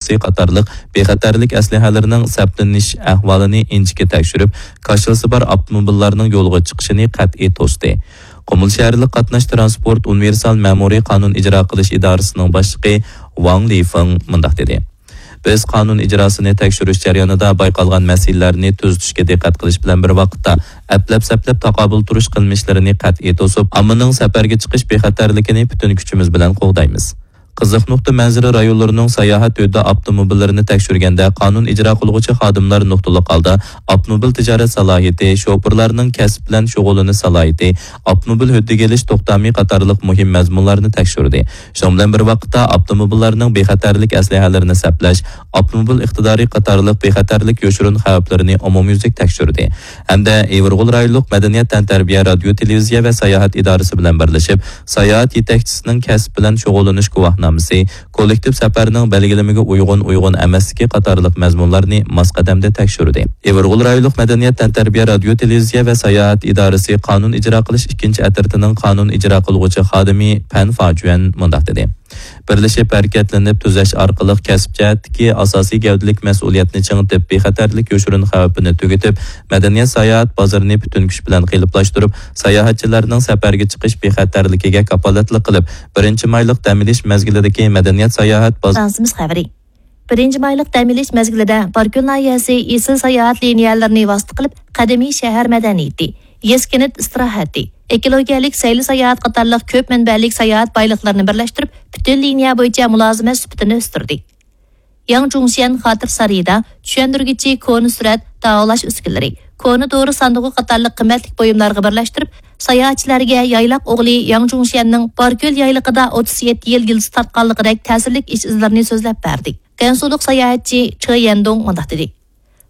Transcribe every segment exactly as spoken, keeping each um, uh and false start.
سۈپىتى قاتارلىق بىخەتەرلىك ئەسلىھەلىرىنىڭ سەپلىنىش ئەھۋالىنى ئىنچىكە تەكشۈرۈپ، كاشىلىسى بار ئاپتوموبىللارنىڭ يولغا چىقىشىنى قەتئىي توستى. قۇمۇل شەھەرلىك قاتناش تىرانسپورت ئۇنىۋېرسال مەمۇرىي قانۇن ئىجرا قىلىش ئىدارىسىنىڭ باشلىقى ۋاڭ لىفېڭ مۇنداق دېدى: بىز قانۇن ئىجراسىنى تەكشۈرۈش جەريانىدا بايقالغان مەسىلىلەرنى تۈزىتىشكە دىققەت قىلىش بىلەن بىر ۋاقىتتا، ئەپلەپ-سەپلەپ تاقابىل تۇرۇش قىلمىشلىرىنى قەتئىي توسۇپ، ئاممىنىڭ سەپەرگە چىقىش بىخەتەرلىكىنى پۈتۈن كۈچىمىز بىلەن قوغدايمىز. قىزىق نۇقتا مەنزىرە رايونلىرىنىڭ ساياھەت ھۆددە ئاپتوموبىللىرىنى تەكشۈرگەندە، قانۇن ئىجرا قىلغۇچى خادىملار نۇقتىلىق ھالدا ئاپتوموبىل تىجارەت سالاھىيىتى، شوپۇرلارنىڭ كەسىپ بىلەن شۇغۇللىنىش سالاھىيىتى، ئاپتوموبىل ھۆددىگە ئېلىش توختامى قاتارلىق مۇھىم مەزمۇنلارنى تەكشۈردى. شۇنىڭ بىلەن بىر ۋاقىتتا، ئاپتوموبىللارنىڭ بىخەتەرلىك ئەسلىھەلىرىنى سەپلەش، ئاپتوموبىل ئىقتىدارى قاتارلىق بىخەتەرلىك يوشۇرۇن خەۋپلىرىنى ئومۇميۈزلۈك تەكشۈردى. ھەمدە ئېۋىرغول رايونلۇق مەدەنىيەت، تەنتەربىيە، رادىيو، تېلېۋىزىيە ۋە ساياھەت ئىدارىسى بىلەن بىرلىشىپ، ساياھەت يېتەكچىسىنىڭ كەسىپ بىلەن شۇغۇللىنىش گۇۋاھنامىسى، كوللېكتىپ سەپەرنىڭ بەلگىلىمىگە ئۇيغۇن، ئۇيغۇن ئەمەسلىكى قاتارلىق مەزمۇنلارنى ماس قەدەمدە تەكشۈردى. ئېۋىرغول رايونلۇق مەدەنىيەت، تەنتەربىيە، رادىيو، تېلېۋىزىيە ۋە ساياھەت ئىدارىسى قانۇن ئىجرا قىلىش ئىككىنچى ئەترىتىنىڭ قانۇن ئىجرا قىلغۇچى خادىمى پەن فاجۈەن مۇنداق دېدى: بىرلىشىپ ھەرىكەتلىنىپ تۈزەش ئارقىلىق كەسىپ جەھەتتىكى ئاساسىي گەۋدىلىك مەسئۇلىيەتنى چىڭىتىپ، بىخەتەرلىك يوشۇرۇن خەۋپىنى تۈگىتىپ، مەدەنىيەت ساياھەت بازىرىنى پۈتۈن كۈچ بىلەن قېلىپلاشتۇرۇپ، ساياھەتچىلەرنىڭ سەپەرگە چىقىش بىخەتەرلىكىگە كاپالەتلىك قىلىپ، بىرىنچى مايلىق دەم ئېلىش مەزگىلىدىكى مەدەنىيەت ساياھەت باز- ئاڭلىسىمىز خەۋىرى. بىرىنچى مايلىق دەم ئېلىش مەزگىلىدە باركۆل ناھىيەسى ئېسىل ساياھەت لىنىيەلىرىنى ۋاسىتە قىلىپ، قەدىمىي شەھەر مەدەنىيىتى، يېزا كەنت ئىستىراھەتى، ئېكولوگىيەلىك سەيلە ساياھەت قاتارلىق كۆپ مەنبەلىك ساياھەت بايلىقلىرىنى بىرلەشتۈرۈپ، پۈتۈن لىنىيە بويىچە مۇلازىمەت سۈپىتىنى ئۆستۈردى. ياڭ جۇڭشيەن خاتىرە سارىيىدا چۈشەندۈرگۈچى كونا سۈرەت، داۋالاش ئۈسكۈنىلىرى، كونا دورا ساندۇقى قاتارلىق قىممەتلىك بۇيۇملارغا بىرلەشتۈرۈپ، ساياھەتچىلەرگە يايلاق ئوغلى ياڭ جۇڭشيەننىڭ باركۆل يايلىقىدا ئوتتۇز يەتتە يىل يىلتىز تارتقانلىقىدەك تەسىرلىك ئىش ئىزلىرىنى سۆزلەپ بەردى. گەنسۇلۇق ساياھەتچى چې يەندۇڭ مۇنداق دېدى: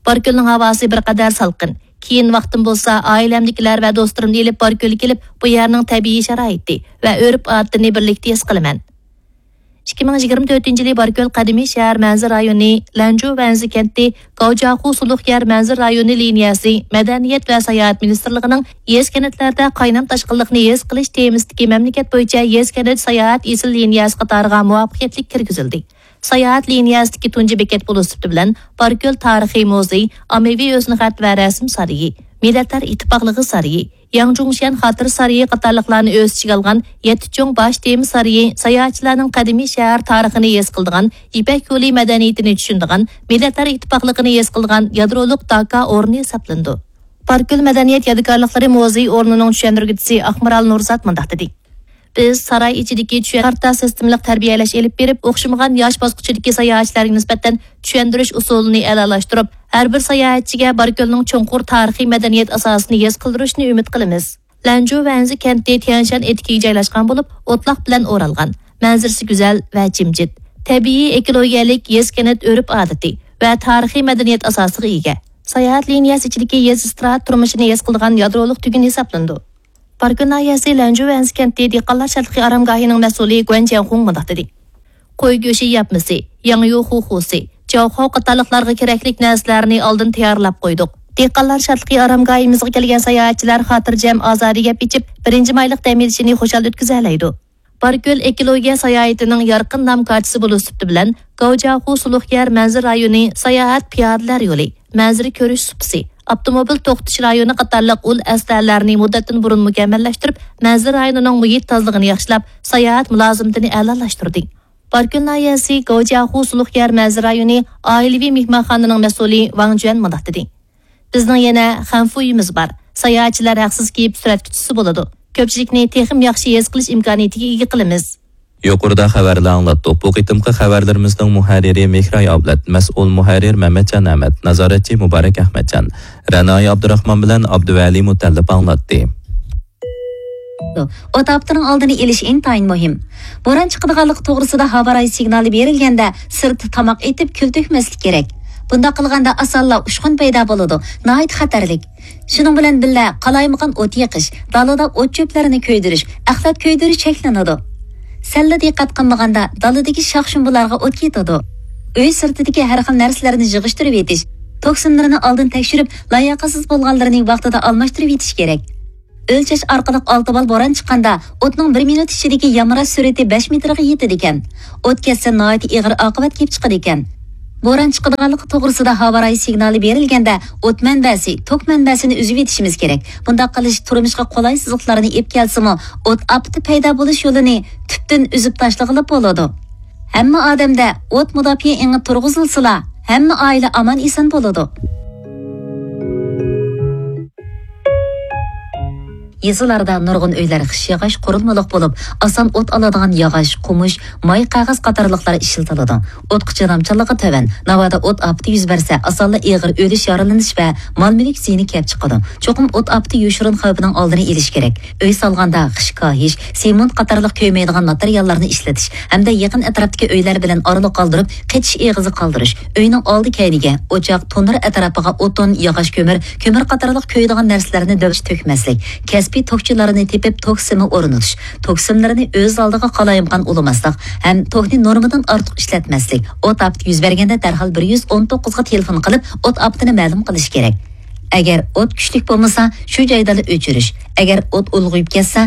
باركۆلنىڭ ھاۋاسى بىر قەدەر سالقىن. كېيىن ۋاقتىم بولسا، ئائىلەمدىكىلەر ۋە دوستلىرىمنى ئېلىپ باركۆلگە كېلىپ، بۇ يەرنىڭ تەبىئىي شارائىتى ۋە ئۆرپ-ئادىتىنى بىرلىكتە ھېس قىلىمەن. ئىككى مىڭ يىگىرمە تۆتىنچى يىلى باركۆل قەدىمىي شەھەر مەنزىرە رايونى، لەنجۇ ۋەنزى كەنتى، گاۋجياخۇ سۇلۇق يەر مەنزىرە رايونى لىنىيەسى، مەدەنىيەت ۋە ساياھەت مىنىستىرلىقىنىڭ يېزا-كەنتلەردە قاينام تاشقىنلىقنى ھېس قىلىش تېمىسىدىكى مەملىكەت بويىچە يېزا-كەنت ساياھەت ئېسىل لىنىيەسى قاتارىغا مۇۋەپپەقىيەتلىك كىرگۈزۈلدى. ساياھەت لىنىيەسىدىكى تۇنجى بېكەت بولۇش سۈپىتى بىلەن، باركۆل تارىخىي مۇزېي، ئاممىۋى ھۆسنخەت ۋە رەسىم سارىيى، مىللەتلەر ئىتتىپاقلىقى سارىيى، ياڭ جۇڭشيەن خاتىرە سارىيى قاتارلىقلارنى ئۆز ئىچىگە ئالغان يەتتە چوڭ باش تېما سارىيى ساياھەتچىلەرنىڭ قەدىمىي شەھەر تارىخىنى ھېس قىلىدىغان، يىپەك يولى مەدەنىيىتىنى چۈشىنىدىغان، مىللەتلەر ئىتتىپاقلىقىنى ھېس قىلىدىغان يادرولۇق داكا ئورنى ھېسابلىنىدۇ. باركۆل مەدەنىيەت يادىكارلىقلىرى مۇزېي ئورنىنىڭ چۈشەندۈرگۈچىسى ئاقمارال نۇرزات مۇنداق دېدى: بىز ساراي ئىچىدىكى چۈشەن كارتا سىستېمىلىق تەربىيەلەش ئېلىپ بېرىپ، ئوخشىمىغان ياش باسقۇچىدىكى ساياھەتچىلەرگە نىسبەتەن چۈشەندۈرۈش ئۇسۇلىنى ئەلالاشتۇرۇپ، ھەر بىر ساياھەتچىگە باركۆلنىڭ چوڭقۇر تارىخىي مەدەنىيەت ئاساسىنى ھېس قىلدۇرۇشنى ئۈمىد قىلىمىز. لەنجۇ ۋەنزى كەنتى تيەنشان ئېتىكىگە جايلاشقان بولۇپ، ئوتلاق بىلەن ئورالغان، مەنزىرىسى گۈزەل ۋە جىمجىت، تەبىئىي ئېكولوگىيەلىك يېزا-كەنت ئۆرپ-ئادىتى ۋە تارىخىي مەدەنىيەت ئاساسىغا ئىگە. ساياھەت لىنىيەسى ئىچىدىكى يېزا ئىستىراھەت تۇرمۇشىنى ھېس قىلىدىغان يادرولۇق تۈگۈن ھېسابلىنىدۇ. باركۆل ناھىيەسى لەنجۇ ۋەنزى كەنتى دېھقانلار شادلىقى ئارامگاھىنىڭ مەسئۇلى گۇەن جياڭخۇڭ مۇنداق دېدى: قوي گۆشى ياپمىسى، ياڭيۇ خۇخۇسى، جاۋخاۋ قاتارلىقلارغا كېرەكلىك نەرسىلەرنى ئالدىن تەييارلاپ قويدۇق. دېھقانلار شادلىقى ئارامگاھىمىزغا كەلگەن ساياھەتچىلەر خاتىرجەم، ئازادە گەپ ئېچىپ، بىرىنچى مايلىق دەم ئېلىشىنى خۇشال ئۆتكۈزەلەيدۇ. باركۆل ئېكولوگىيە ساياھىتىنىڭ يارقىن نام كارتىسى بولۇش سۈپىتى بىلەن، گاۋجياخۇ سۇلۇق يەر مەنزىرە رايونى ساياھەت پىيادىلەر يولى، مەنزىرە كۆرۈش سۇپىسى، ئاپتوموبىل توختىتىش رايونى قاتارلىق ئۇل ئەسلىھەلەرنى مۇددەتتىن بۇرۇن مۇكەممەللەشتۈرۈپ، مەنزىرە رايونىنىڭ مۇھىت تازىلىقىنى ياخشىلاپ، ساياھەت مۇلازىمىتىنى ئەلالاشتۇردى. باركۆل ناھىيەسى گاۋجياخۇ سۇلۇق يەر مەنزىرە رايونى ئائىلىۋى مېھمانخانىنىڭ مەسئۇلى ۋاڭ جۈەن مۇنداق دېدى: بىزنىڭ يەنە خەنفۇيىمىز بار. ساياھەتچىلەر ھەقسىز كېلىپ سۈرەتكە چۈشسە بولىدۇ. كۆپچىلىكنى تېخىمۇ ياخشى ھېس قىلىش ئىمكانىيىتىگە ئىگە قىلىمىز. يۇقىرىدا خەۋەرلەر ئاڭلاتتۇق. بۇ قېتىمقى خەۋەرلىرىمىزنىڭ مۇھەررىرى مېھراي ئابلەت، مەسئۇل مۇھەررىر مەمەتجان ئەمەت، نازارەتچى مۇبارەك ئەخمەتجان. رەنايى ئابدۇراخمان بىلەن ئابدۇۋەلى مۇتەللىپ ئاڭلاتتى. ئوت ئاپىتىنىڭ ئالدىنى ئېلىش ئىنتايىن مۇھىم. بوران چىقىدىغانلىقى توغرىسىدا ھاۋا رايى سىگنالى بېرىلگەندە، سىرتتا تاماق ئېتىپ، كۈل تۆكمەسلىك كېرەك. بۇنداق قىلغاندا ئاسانلا ئۇچقۇن پەيدا بولىدۇ، ناھايىتى خەتەرلىك. شۇنىڭ بىلەن بىللە، قالايمىقان ئوت يېقىش، دالىدا ئوت-چۆپلەرنى كۆيدۈرۈش، ئەخلەت كۆيدۈرۈش چەكلىنىدۇ. سەللا دىققەت قىلمىغاندا، دالىدىكى شاخ-شۇمبىلارغا ئوت كېتىدۇ. ئۆي سىرتىدىكى ھەر خىل نەرسىلەرنى يىغىشتۇرۇۋېتىش، توكسىنلىرىنى ئالدىن تەكشۈرۈپ، لاياقەتسىز بولغانلىرىنى ۋاقتىدا ئالماشتۇرۇۋېتىش كېرەك. ئۆلچەش ئارقىلىق ئالتە بال بوران چىققاندا، ئوتنىڭ بىر مىنۇت ئىچىدىكى يامراش سۈرئىتى بەش مېتىرغا يېتىدىكەن. ئوت كەتسە، ناھايىتى ئېغىر ئاقىۋەت كېلىپ چىقىدىكەن. بوران چىقىدىغانلىقى توغرىسىدا ھاۋا رايى سىگنالى بېرىلگەندە، ئوت مەنبەسى، توك مەنبەسىنى ئۈزۈۋېتىشىمىز كېرەك. بۇنداق قىلىش تۇرمۇشقا قولايسىزلىقلارنى ئېلىپ كەلسىمۇ، ئوت ئاپىتى پەيدا بولۇش يولىنى تۈپتىن ئۈزۈپ تاشلىغىلى بولىدۇ. ھەممە ئادەمدە ئوت مۇداپىئە ئېڭى تۇرغۇزۇلسىلا، ھەممە ئائىلە ئامان-ئېسەن بولىدۇ. يېزىلاردا نۇرغۇن ئۆيلەر خىش ياغاچ قۇرۇلمىلىق بولۇپ، ئاسان ئوت ئالىدىغان ياغاچ، قومۇش، ماي قەغەز قاتارلىقلار ئىشلىتىلىدۇ. ئوتقا چىدامچانلىقى تۆۋەن، ناۋادا ئوت ئاپىتى يۈز بەرسە، ئاسانلا ئېغىر ئۆلۈش، يارىلىنىش ۋە مال-مۈلۈك زىيىنى كەپ چىقىدۇ. چوقۇم ئوت ئاپىتى يوشۇرۇن خەۋپىنىڭ ئالدىنى ئېلىش كېرەك. ئۆي سالغاندا خىش كاھىش، سېمونت قاتارلىق كۆيمەيدىغان ماتېرىياللارنى ئىشلىتىش ھەمدە يېقىن ئەتراپتىكى ئۆيلەر بىلەن ئارىلىق قالدۇرۇپ، قېچىش ئېغىزى قالدۇرۇش. ئۆينىڭ ئالدى كەينىگە، ئوچاق، تونۇر ئەتراپىغا ئوتۇن، ياغاچ كۆمۈر، كۆمۈر قاتارلىق كۆيىدىغان نەرسىلەرنى دۆۋىشى تۆكمەسلىك، كەسپىي توكچىلارنى تېپىپ توك سىمى ئورنىتىش، توك سىملىرىنى ئۆز ئالدىغا قالايمىقان ئۇلىماسلىق ھەم توكنى نورمىدىن ئارتۇق ئىشلەتمەسلىك، ئوت ئاپىتى يۈز بەرگەندە دەرھال بىر يۈز ئون توققۇزغا تېلېفون قىلىپ، ئوت ئاپىتىنى مەلۇم قىلىش كېرەك. ئەگەر ئوت كۈچلۈك بولمىسا، شۇ جايدىلا ئۆچۈرۈش. ئەگەر ئوت ئۇلغىيىپ كەتسە،